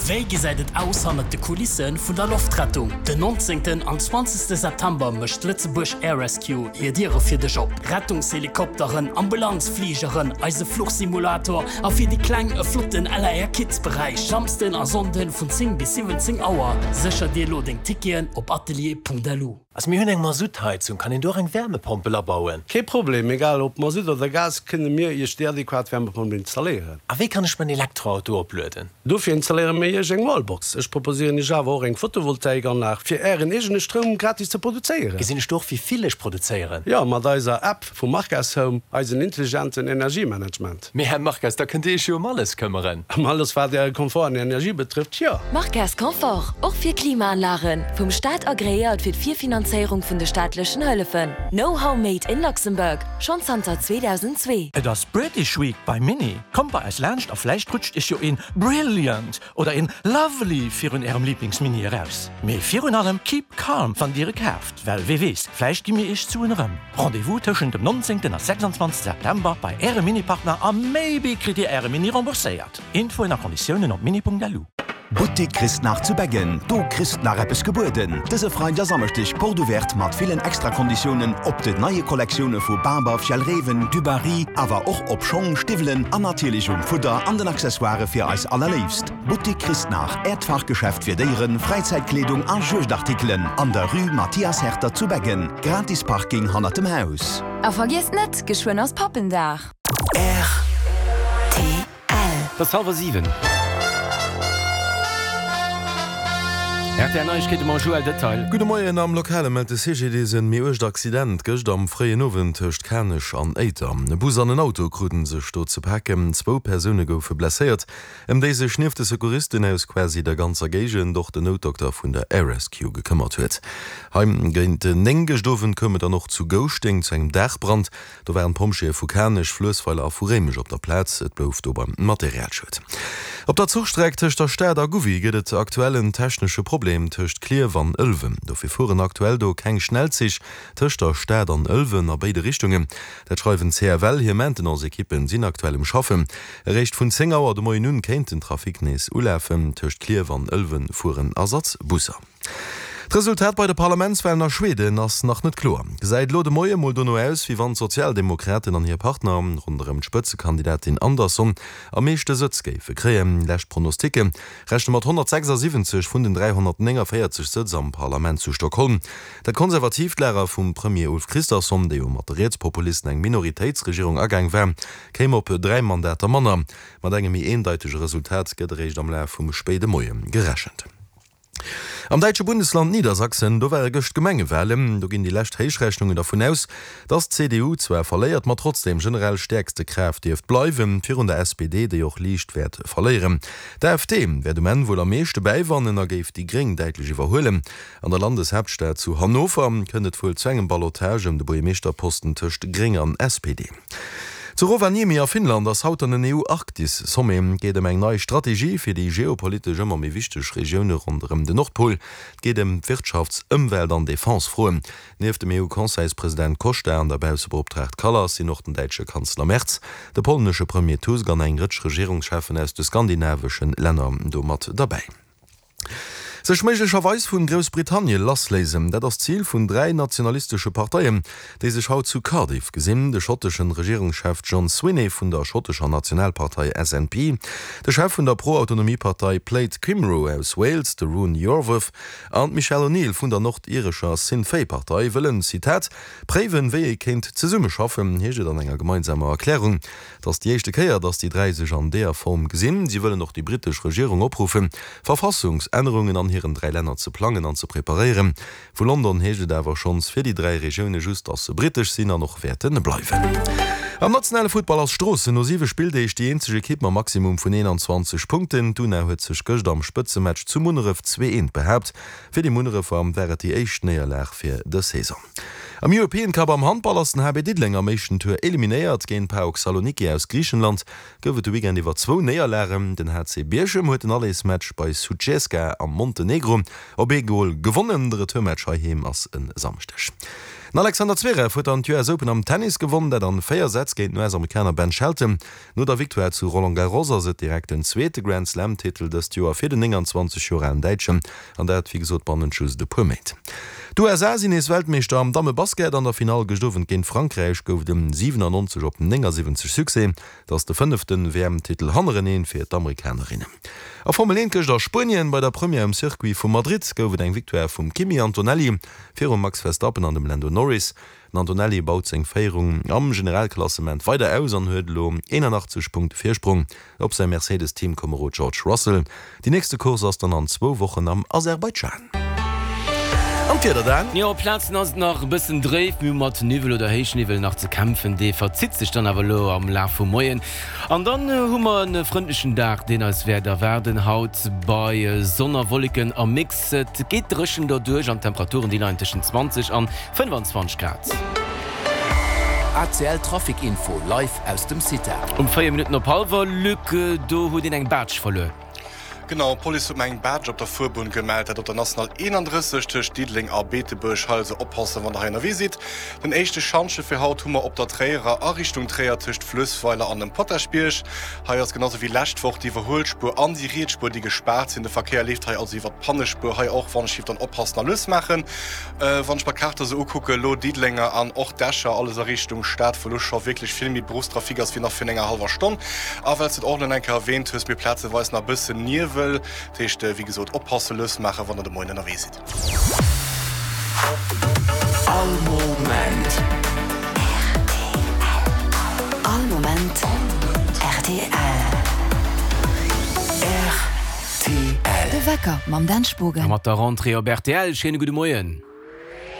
Wéi gesäit et aus hannert de Kulisse vun der Loftrettung? Den 19. an 20. September mécht d'Lëtzebuerg Air Rescue hir Diere fir dech op. Rettungshelikopteren, Ambulanzfligeren, eise Fluchsimulator a fir déi Kleng e flotten LAR Kids Beräich. Samsden a Sonnden vun 10 bis 17 Auer. Sécher dir elo deng Ticketen op atelier.lu. Also mir hunn eng Masuttheizung, kann een do och eng Wärmepompel abauen? Kee Problem, egal ob Masutt oder Gas, kënne mir Iech déi adequat Wärmepompel installéieren. A wéi kann ech mäin Elektroauto oplueden? Dofir installéiere mir Iech eng Wallbox. Ech proposéieren Iech awer och eng Photovoltaikanlag, fir Ären eegene Stroum gratis ze produzéieren. Gesinn ech do och wéi vill ech produzéieren? Jo, mat eiser App vu Marques Home, eisen intelligenten Energiemanagement. Mee Här Marques, da kënnt Dir Iech jo ëm alles këmmeren. Ëm alles wat Äre Komfort an Energie betrëfft, jo. Marques Confort, och fir Klimaanlagen, vum Staat agreéiert fir d'Virfinanzéierung vun de staatlechen Hëllefen. Know-how made in Luxembourg, schonn zanter 2002. Et ass British Week bei Mini. Kommt bei eis laanscht a vläicht rutscht iech jo een Brilliant oder een Lovely virun ärem Lieblingsmini eraus. Mee virun allem keep calm wann dir e kaaft, well wee weess, vläicht gi mir iech d'Suen erëm. Rendez-vous tëschent dem 19 a 26 September bei ärem Mini-Partner a maybe kritt dir äre Mini rembourséiert. Infoen a Konditiounen op mini.lu. Boutique Christnach zu Beggen, do kriss d'nach eppes gebueden! Dëse Freide a Samschdeg Porte Ouverte mat villen Extrakonditiounen op den neie Kollektioune vu Barber, Fjällräven, Dubarry, awer och op Schong, Stiwwelen an natierlech um Fudder an den Accessoire fir eis Allerléifst. Boutique Christnach, Äert Fachgeschäft fir Déieren, Fräizäitkleedung a Juegdartikelen an der Rue Mathias Herter zu Beggen. Gratis Parking hannert dem Haus. A vergiesst net, geschwënn ass Pappendag! Rtl. Et ass hallwer 7. Rtl Neiegkeete mam Joël Detail. Gudde Moien, Am Lokale mellt de CGDIS en méi uergt Accident gëscht am fréien Owend tëscht Kanech an Éiter. E Bus an en Auto kruten sech do ze paken. Zwou Persoune goufe blesséiert, ëm déi sech nieft de Secouristen aus quasi der ganzer Géigend och den Noutdokter vun der Air Rescue gekëmmert huet. Hei géint 9 gëscht Owend koum et dann och zu Gouschteng zu engem Daachbrand. Do waren d'Pompjeeë vu Kanech, Fluessweiler a vu Réimech op der Plaz. Et blouf do beim Materialschued. Op der Zuchstreck tëscht der Stad a Gouvy gëtt et aktuell en technesche Problem tëscht Klierf an Ëlwen. Dofir fueren aktuell do keng Schnellzich tëscht der Stad an Ëlwen a béide Richtungen. Dat schreiwen d'CFL. Hir Maintenance-Ekippen sinn aktuell um Schaffen. Eréischt vun 10 Auer de Moien un kéint den Trafic nees ulafen. Tëscht Klierf an Ëlwen fueren Ersatzbusser. D'Resultat bei de Parlamentswalen a Schweden ass nach net kloer. Gesäit elo de Moie mol dono aus, wéi wann d'Sozialdemokraten an hir Partner ronderëm d'Spëtzekandidatin Andersson am meeschte Sëtz géife kréien. Lescht Pronosticke rechne mat 176 vun den 349 Sëtz am Parlament zu Stockholm. Dat konservatiivt Lager vum Premier Ulf Kristersson, dee jo mat de Rietspopulisten eng Minoritéitsregierung agaang war, kéim op 3 Mandater manner. Mat engem méi eendeitege Resultat gëtt eréischt am Laf vum spéide Moie gerechent. Am däitsche Bundesland Niedersachsen, do ware gëscht Gemengewalen. Do ginn déi lescht Héichrechnungen dervun aus, datt d'CDU zwar verléiert, ma trotzdeem generell stäerkste Kraaft dierft bleiwen, virun der SPD, déi och liicht wäert verléieren. D'AfD wäert um Enn wuel am meeschte bäiwannen a géif déi Gréng däitlech iwwerhuelen. An der Landeshaaptstad zu Hannover kënnt et wuel zu engem Ballotage ëm de Buergermeeschterposten tëscht Gréng an SPD. Zu Rovaniemi a Finnland ass haut dann en EU-Arktis-Sommet. Et geet ëm eng nei Strategie fir déi geopolitesch ëmmer méi wichteg Regioune ronderëm den Nordpol. Et geet ëm d'Wirtschafts-, Ëmwelt an Defense-Froen. Nieft dem EU-Conseilspresident Costa an der Baussebeoptraagt Kallas sinn och den däitsche Kanzler Merz, de polnesche Premier Tusk an eng Rëtsch Regierungscheffen aus de skandinavesche Länner do mat derbäi. Sech méiglecherweis vun Groussbritannien lassléisen, dat ass d'Zil vun 3 nationalistesche Parteien, déi sech haut zu Cardiff gesinn, de schotteschen Regierungschef John Swinney vun der schottescher Nationalpartei SNP, de Chef vun der Pro-Autonomie-Partei Plaid Cymru aus Wales, de Rhun Iorwerth, an d'Michelle O'Neill vun der nordirescher Sinn Féin-Partei wëllen, Zitat, préiwen, wéi ee kéint zesummeschaffen, heescht et an enger gemeinsamer Erklärung. Et ass déi éischte Kéier, datt déi 3 sech an deeër Form gesinn. Si wëllen och déi brittesch Regierung opruffen, Verfassungsännerungen an hiren 3 Länner ze plangen an ze preparéieren. Vu London heescht et awer schonns fir déi 3 Regioune just, datt se brittesch sinn an och wäerte bleiwen. Am nationale Futtball ass Stroossen no 7 Spilldeeg déi eenzeg Ekipp mam Maximum vun 21 Punkten. D'Una huet sech gëscht am Spëtzematch zu Munneref 2, 1 behaapt. Fir déi Munnerefer war et déi éischt Néierlag fir dës Saison. Am European Cup am Handball ass den HB Diddeleng am éischten Tour eliminéiert. Géint PAOK Saloniki aus Griichenland gouf et de Weekend iwwer zwou Néierlagen. Den HC Bierchem huet den Allersmatch bei Sutjeska am Montenegro op ee Gol gewonnen. De Retourmatch heiheem ass e Samschdeg. Den Alexander Zverev huet dann d'US Open am Tennis gewonn, dat an 4 Sätz géint den US-Amerikaner Ben Shelton. No der Victoire zu Roland Garros ass et direkt den zweete Grand-Slam-Titel dëst Joer fir den 29 Joer alen Däitschen, an dat wéi gesot bannent just e puer Méint. D'USA sinn nees Weltmeeschter am Damme-Basket. An der Finall gëscht Owend géint Frankräich gouf et en 97 op 79 Succès. Et ass de fënnefte WM-Titel hannereneen fir d'Amerikanerinnen. A Formel 1 gëscht a Spuenien bei der Première um Circuit vu Madrid gouf et eng Victoire vum Kimi Antonelli virum Max Verstappen an dem Lando Norris. Den Antonelli baut seng Féierung am Generalklassement weider aus an huet elo 81 Punkte Virsprong op säi Mercedes-Teamkomerod George Russell. Déi nächste Course ass dann an zwou Wochen am Aserbaidschan. An d'Wieder dann? Jo, op Plazen ass et nach e bëssen dréif, mir hu mat Niwwel oder Héichniwwel nach ze kämpfen. Dee verzitt sech dann awer elo am Laf vum Moien an dann hu mer e frëndlechen Dag, deen eis wäert erwaarden. Haut bei Sonn a Wolleken am Mix. Et geet dréchen derduerch an d'Temperaturen déi leien tëschent 20 an 25 Grad. ACL Trafic Info live aus dem CITA. Um 4 Minutten op hallwer, Luc, do huet een eng Baatsch verluer. Genau, d'Police huet mer eng Baatsch op der Fuerbunn gemellt, dat op der National 31 tëscht Diddeleng a Beetebuerg. Hei also oppassen, wann der hei ënnerwee sidd. Den éischte Schantje fir haut hu mer op der Tréierer a Richtung Tréier tëscht Fluessweiler an dem Potaschbierg. Hei ass genau sou wéi lescht Woch déi Iwwerhuelspuer an déi riets Spuer, déi gespaart sinn. De Verkéier leeft hei also iwwer d'Pannespuer. Hei och wann ech giff dann oppassen a lues maachen. Wann ech mer d'Kaart esou ukucken, elo Diddelenger an och d'Escher, alles a Richtung Stad, wou elo scho wierklech vill méi Berufstrafic ass wéi nach virun enger hallwer Stonn. A well s de et och elo eng Kéier erwähnt hues, mir plazeweis nach e bëssen Niewel. Dat heescht, wéi gesot, oppassen, lues maachen, wann der de Moien ënnerwee sidd. All Moment. All Moment rtl. Rtl. De Wecker mam Dan Spogen. A mat der Rentrée op rtl, schéine gudde Moien.